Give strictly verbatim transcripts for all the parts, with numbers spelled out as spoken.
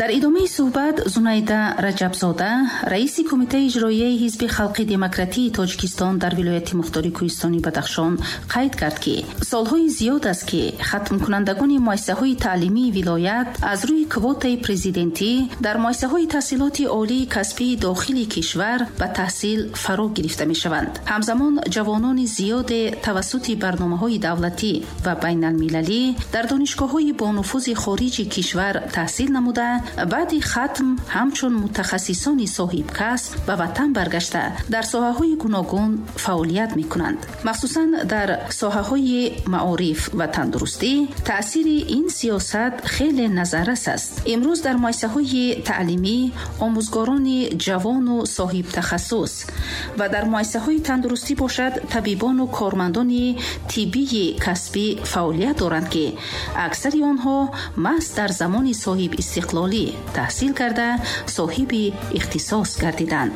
Дар идомаи суҳбат Зунайда Раҷабзода, раиси Кумитаи иҷроияи Ҳизби халқи демократии Тоҷикистон дар вилояти мухтори Кӯҳистони Бадахшон, қайд кард, ки солҳои зиёд аст, ки хатмкунандагони муассисаҳои таълимии вилоят аз рӯи квотаи президентӣ дар муассисаҳои таҳсилоти олии касбии дохили кишвар ба таҳсил фаро гирифта мешаванд. Ҳамзамон ҷавонони зиёде тавассути барномаҳои давлатӣ ва байналмилалӣ дар донишгоҳҳои бонуфузи хориҷи кишвар таҳсил намуда, баъди хатм ҳамчун мутахассисони соҳибкасб ба ватан баргашта, дар соҳаҳои гуногун фаъолият мекунанд. Махсусан дар соҳаҳои маориф ва тандурустӣ таъсири ин сиёсат хеле назаррас аст. Имрӯз дар муассисаҳои таълимӣ омӯзгорони ҷавону соҳибтахассус ва дар муассисаҳои тандурустӣ бошад, табибону кормандони тиббии касбӣ фаъолият доранд, ки аксари онҳо маҳз дар замони соҳибистиқлолӣ таҳсил карда, соҳиби ихтисос гардиданд.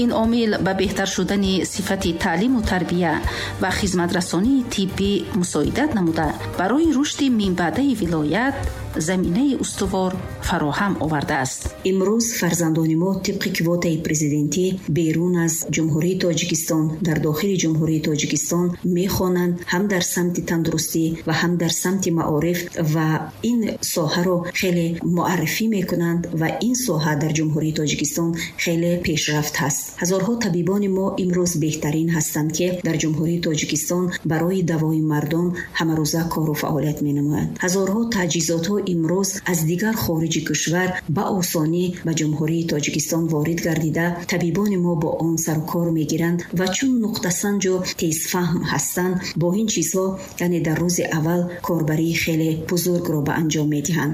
Ин омил ба беҳтар шудани сифати таълиму тарбия ва хизматрасонии тиббӣ мусоидат намуда, барои рушди минбаъдаи вилоят заминаи устувор фароҳам овардааст. Имрӯз фарзандони мо тибқи квотаи президентӣ берун аз Ҷумҳурии Тоҷикистон, дар дохили Ҷумҳурии Тоҷикистон мехонанд, ҳам дар самти тандурустӣ ва ҳам дар самти маориф, ва ин соҳаро хеле муаррифӣ мекунанд ва ин соҳа дар Ҷумҳурии Тоҷикистон хеле пешрафт ҳаст. Ҳазорҳо табибони мо имрӯз беҳтарин ҳастанд, ки дар Ҷумҳурии Тоҷикистон барои давои мардум ҳамарӯза кору фаъолият менамоянд. Ҳазорҳо таҷҳизотҳо имрӯз аз дигар хориҷи кишвар ба осонӣ ба Ҷумҳурии Тоҷикистон ворид гардида, табибони мо бо он сарукор мегиранд ва чун нуқтасанҷу тезфаҳм ҳастанд, бо ин чизҳо, яъне дар рӯзи аввал корбарии хеле бузургро ба анҷом медиҳанд.